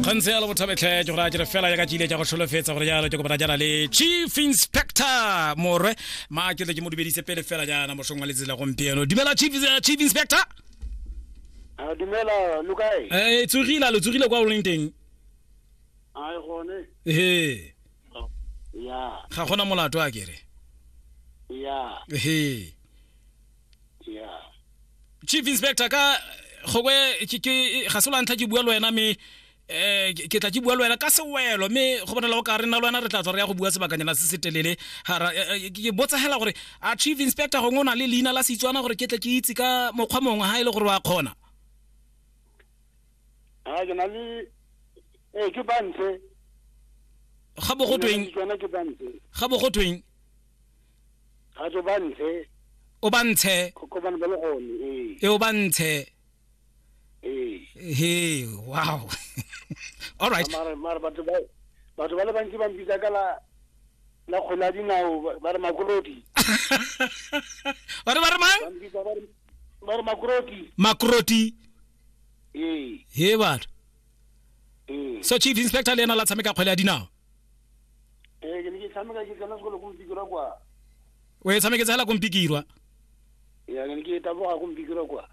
Kgantse ya le bothabetlhe ke gore a ke re fela ya ka ke ile ka go tsholofetsa gore jalo ke kopana jaana le Chief Inspector Morwe. Ma ke tle ke mo dumedise pele fela jaana mosong wa letsatsi la gompieno. Dumela Chief Chief Inspector. A dumela lo kae? Eh tsogile lo tsogile kwa o leng teng. Ai gone. Ehe. Ya. Ga gona molato a kere. Ya. Ehe. Ya. Chief Inspector ka gongwe ke ke ga se la ntlha ke bua le wena mme eh ke tla ke bua le wena ka sewelo mme go bonala o ka re nna le wena re tla tswa re ya go bua sebakanyana se se telele ga ra ke botsa hela gore a Chief Inspector gongwe o na le leina la Setswana gore ke tle ke itse ka mokgwa mongwe ha e le gore wa kgona. A ke na le eh ke bantshe. Ga bo go tweng? Tswana ke bantshe. Ga bo go tweng? Ga tso bantshe. O bantshe. Ko bana ba le gone ee. E o bantshe. Ee. He, wow. All right. Mara mara batho ba batho ba le bantsi ba mpitsa ka la la kgwele ya dinao ba re makroti. Ba re ba re mang? Ba mpitsa ba re ba re makroti. Makroti. Ee. He batho. Ee. So Chief Inspector le ena la tshameka kgwele ya dinao. Ee, ke ne ke tshameka ke tsena sekolo ko Mpikirwa kwa. O e tshameketse hela ko Mpikirwa. Ya, ke ne ke taboga ko Mpikirwa kwa.